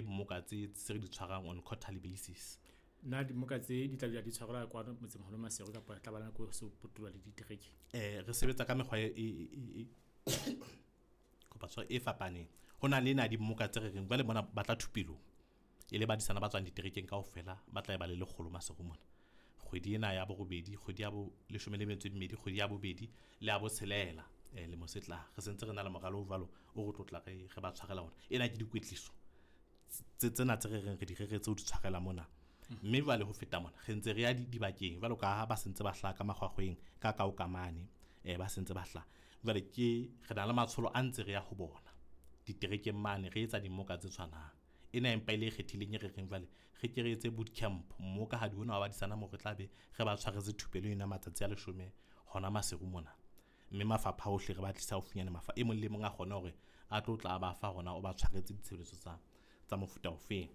Mmoka tse tse re di tshwarang on quarterly basis. Na dimoka tse di tla dula di tshwarelwa kwano motsemoholo Maseru kapa tla ba nako so potoloha le ditereke? Re sebetsa ka mekgwa e kopa tshwaro e fapaneng. Ho na le ena dimmoka tse re reng jwale mona ba tla thupelong e le badisana ba tswang diterekeng kaofela, ba tla ba le 100 Maseru mona. Kgwedi ena ya borobedi, kgwedi ya bo 12, kgwedi ya bobedi le ya botshelela lemo se tlang. Re sentse re na le moralo o jwalo o re tlotla re ba tshwarela ona. Ena ke dikwetliso tsena tse re reng re di reretse ho di tshwarela mona. Mme jwale ho feta mona re ntse re ya dibakeng jwalo ka ha ba sentse ba hlaha ka makgwakgweng ka kao ka mane, ba sentse ba hlaha. Jwale ke re na le matsholo a ntse re ya ho bona diterekeng mane, re etsa dimoka tse tshwanang. Ena empa e le e kgethileng e re reng jwale re ke re etse boot camp mmoka ha di ona wa badisana moo re tla be re ba tshwaretse thupelo ena matsatsi a 10 hona Maseru mona. Mme mafapha ohle re ba tlisa haufinyane, mafa e mong le mong a kgone hore a tlo tla ba fa hona o ba tshwaretse ditshebeletso tsa mofuta ofeng.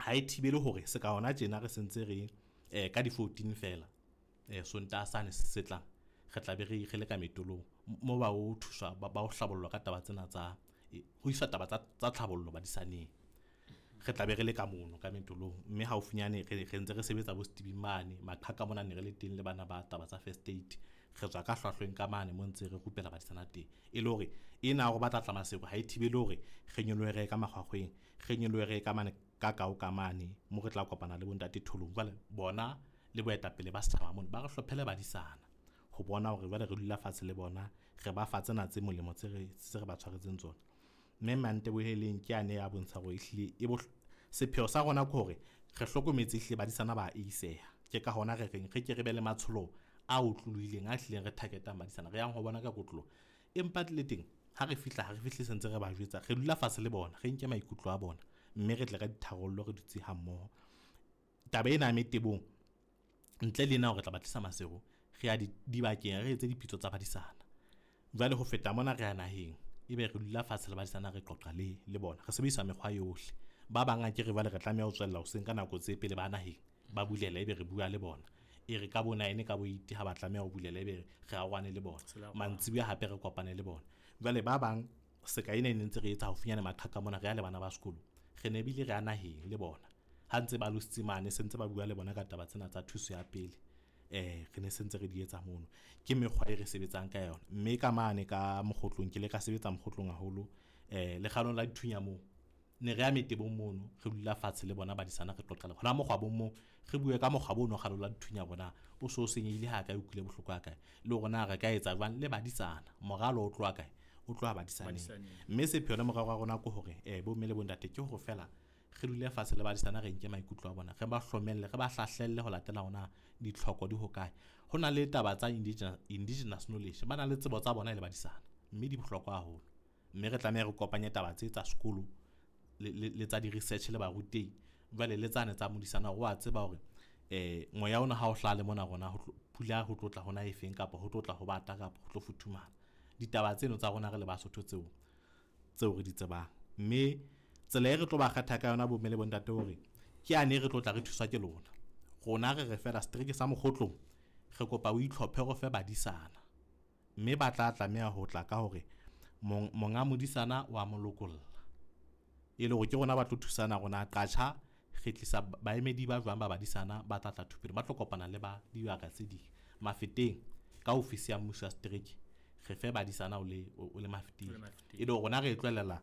Ha e thibele hore se ka hona tjena re sentse re ka di 14 fela Sontaha sane se tlang re tla be re le ka metolong mo ba o thuswa ba o hlabollwa ka taba tsena tsa ho iswa taba tsa tlhabollo badisaneng. Re tla be re le ka mono ka metolong, mme haufinyane re ntse re sebetsa bo Stevie mane maqhaka mona ne re le teng le bana ba taba tsa first aid. Re tswa ka hlwahlweng ka mane mo ntse re rupela badisana teng, e le hore ena hore ba tla tla Maseru ha e thibele hore re nyolohe re ye ka makgwakgweng, re nyolohe re ye ka mane ka kao ka mane mo re tla kopana le bontate Tholong. Jwale bona le boetapele ba setjhaba mono ba re hlophele badisana ho bona hore jwale re dula fatshe le bona, re ba fa tsena tse molemo tse re ba tshwaretseng tsona. Mme Manteboheleng ke ane ya bontsha hore ehlile e sepheo sa rona ke hore re hlokometse ehlile badisana ba eiseha. Ke ka hona re reng re ke re be le matsholo a otlolohileng a hlileng re targetang badisana, re yang ho bona ka kotloloho. Empa le teng ha re fihla, ha re fihle sentse re ba jwetsa, re dula fatshe le bona, re nke maikutlo a bona, mme re tle ka ditharollo re dutse ha mmoho. Taba ena ya metebong ntle le ena hore re tla ba tlisa Maseru, re ya dibakeng re etse dipitso tsa badisana. Jwale ho feta mona re ya naheng, ebe re dula fatshe le badisana re qoqa le bona, re sebedisa mekgwa yohle. Ba bang a ke re jwale re tlameha ho tswella hoseng ka nako tse pele ba naheng ba bulela, ebe re bua le bona. E re ka bo 9 ka bo 8 ha ba tlameha ho bulela, ebe re arohane le bona. Mantsibuya hape re kopane le bona. Jwale ba bang seka ena e ne ntse re etsa haufinyane maqhaka mona, re ya le bana ba sekolo, re ne bile re ya naheng le bona. Ha ntse ba lositse mane, se ntse ba bua le bona ka taba tsena tsa thuso ya pele. Re ne sentse re di etsa mono. Ke mekgwa e re sebetsang ka yona. Mme ka mane ka mokgotlong, ke le ka sebetsa mokgotlong haholo, lekgalong la dithunya moo. Ne re ya metebong mono, re dula fatshe le bona badisana, re qoqa le bona mokgwabong moo, re bue ka mokgwabo ono kgalong la dithunya bona o so senyehile ha kae, o utlwile bohloko ha kae, le hore na re ka etsa jwang le badisana. Moralo o tloha kae? O tloha badisaneng. Mme sepheo le morero wa rona ke hore bomme le bontate ke hore fela re dule fatshe le badisana, re nke maikutlo a bona, re ba hlomelle, re ba hlahlelle ho latela hona ditlhoko di hokae. Ho na le taba tsa indigenous knowledge, ba na le tsebo tsa bona e le badisana, mme di bohlokwa haholo. Mme re tlameha re kopanye taba tse tsa sekolo le tsa di-research le barutehi, jwale le tsane tsa modisana hore wa tseba hore moya ona ha o hlaha le mona rona pula ho tlotla hona efeng, kapa ho tlotla ho bata, kapa ho tlo futhumala. Ditaba tseno tsa rona re le Basotho tseo re di tsebang. Mme tsela e re tlo ba kgetha ka yona bomme le bontate hore ke ane re tlotla re thuswa ke lona. Rona re re fela setereke sa Mokgotlong, re kopa o itlhophe re fe badisana. Mme ba tla tlameha ho tla ka hore monga modisana wa mo lokolla. E le hore ke rona ba tlo thusana rona qatjha, re tlisa baemedi ba jwang ba badisana ba tla tla thupelo, ba tlo kopana le ba dibaka tse ding. Mafeteng ka ofisi ya mmuso ya setereke, re fe badisana o le Mafeteng. E le hore rona re tlohella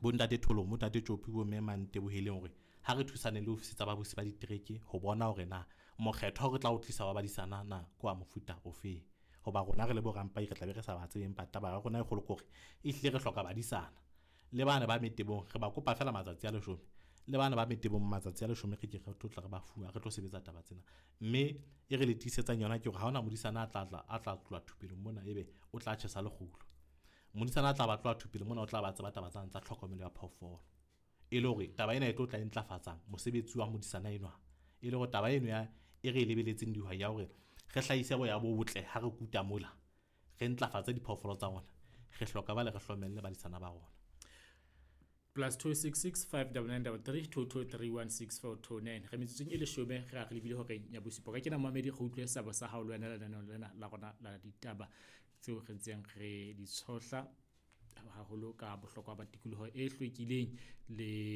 bontate Tholong, bontate Tjopi, bo mme Manteboheleng hore ha re thusane le ofisi tsa babusi ba ditereke ho bona hore na mokgetho re tla o tlisa wa badisana na ke wa mofuta ofe. Hoba rona re le borampai re tla be re sa ba tsebe, empa taba ya rona e kgolo ke hore ehlile re hloka badisana. Le bana ba metebong re ba kopa fela matsatsi a 10, le bana ba metebong matsatsi a 10 re ke re tlotla re ba fuwa, re tlo sebetsa taba tsena. Mme e re le tiisetsang yona ke hore ha hona modisana a tla tloha thupelong mona ebe o tla tjhesa lekgulo. Modisana a tla ba tloha thupelong mona o tla ba tseba taba tsa tlhokomelo ya phoofolo. E le hore taba ena e tlo tla e ntlafatsang mosebetsi wa modisana enwa. E le hore taba eno ya e re e lebeletseng dihwai ya hore re hlahise boya bo botle ha re kuta mola, re ntlafatse diphoofolo tsa rona, re hloka ba le re hlomelle badisana ba rona. +266 599 33 223 16429. Re metsotsong e 10 re a re lebile hore ya bosupa. Ka kena mamedi re utlwe sabo sa hao le wena lenaneong lena la rona la ditaba tseo re ntseng re di tshohla haholo ka bohlokwa ba tikoloho e hlwekileng le